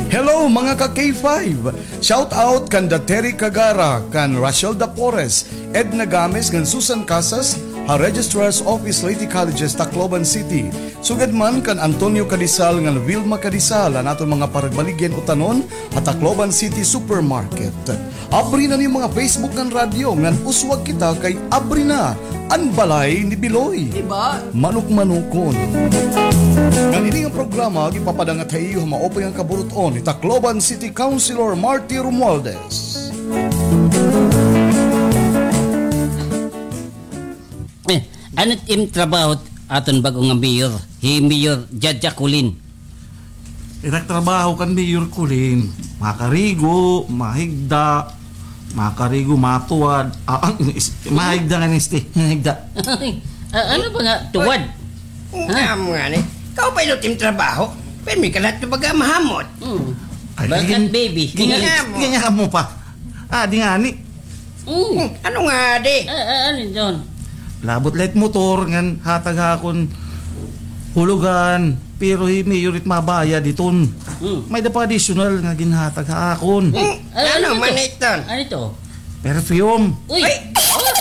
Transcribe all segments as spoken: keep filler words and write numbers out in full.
Hello, mga ka K five! Shout out kan Da Terry Cagara, kan Rachel Dapores, Edna Games, ngan Susan Casas, ha Registrar's Office, Leyte Colleges, Tacloban City. Sugad man kan Antonio Cadizal ngan Vilma Cadizal, an aton mga paragbaligya hin utanon, ha Tacloban City Supermarket. Abri na an iyo mga Facebook ngan radyo ngan uswag kita kay abri na an balay ni Biloy. Diba? Manok-manokon. Ngan ini nga programa, gipapadangat ha iyo ha maupay nga kaburut-on ni Tacloban City Councilor Marty Romualdez. Eh, ano it im trabaho aton bag-o nga mayor? Hi Mayor Jaja Colin. It ak trabaho kan Mayor Colin, makarigo, mahigda, makarigo, matuwad. Ah, ah, is-, mahigda nga ni Ste, mahigda. Ah, ano ba nga tuwad? Ha? Amo ngani. Ikaw pa ilo tim trabaho. Pirmi ka lahat baga mahamot. Hmm. Ay, bakat, baby. Ganyan, ganyan mo pa. Ah, di ngani. Mm. Hmm, ano ngadi? Ah, ah, ano yun? Labot la it motor ngan hatag ha akon hulugan, pero hi Mayor it mabayad hiton. Mm. May-ada pa additional nga ginhatag ha akon. Hmm, ah, ano man iton? Ano ito? Perfume. Uy! Ay! Oh!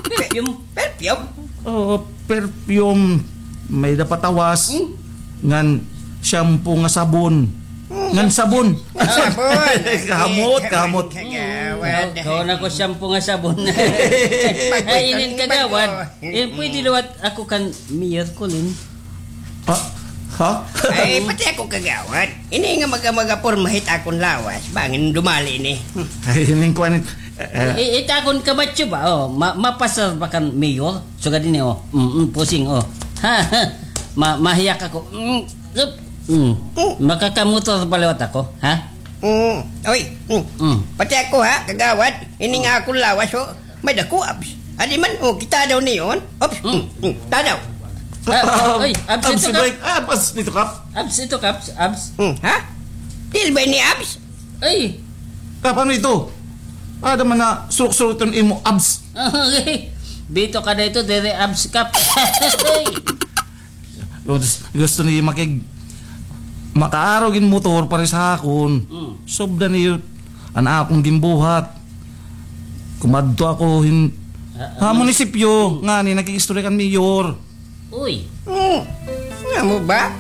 Perfume? Perfume? Oo, perfume. May-ada pa tawas. Hmm? Ngan shampoo nga sabon. Hmm. Ngan sabon. Ah, sabon. Kamot, kamot. Kagawad. Kaon ako shampoo nga sabon. Ay, inin kagawad. Eh, pwede liwat ako kan Mayor Colin. Ha? Ha? Ay, pati ako kagawad. Ini nga maga-, magaporma hit akon lawas. Bangin dumali ini. Ay, ining kuan, eh, eh. I-, it akon kamatyo ba? Oh, ma-, mapasar ba kan Mayor? Sugad ini, oh. Mm, mm, pusing, oh. Ha, ha. Ma-, mahiyak ako. Mm, zup. Mm. Mm. Makakamotor pa liwat ako, ha? Mm. Oy, mm. Mm. Pati ako, ha, kagawad. Ini nga akon lawas, oh. May dako, abs. Adi man, oh, kita daw niyon. Ops, mm, mm, tadaw. Ah, ay, abs ito, Kap. Break. Ah, abs ito, Kap. Abs ito, Kap. Abs. Mm, ha? Dili ba ini abs? Ay. Kap, ano ito? Ada man na surok-surok iton imo abs. Okay. Bito ka na ito, diri abs, Kap. Ay. Gus-, gusto ni makig-, makaarog hin motor pares ha akon. Mm. Sobra ni an akon ginbuhat. Kumadto ako hin-, ah, ha munisipyo, ngani nakig-istorya kan mayor. Uy. Hmm. Nga mo ba?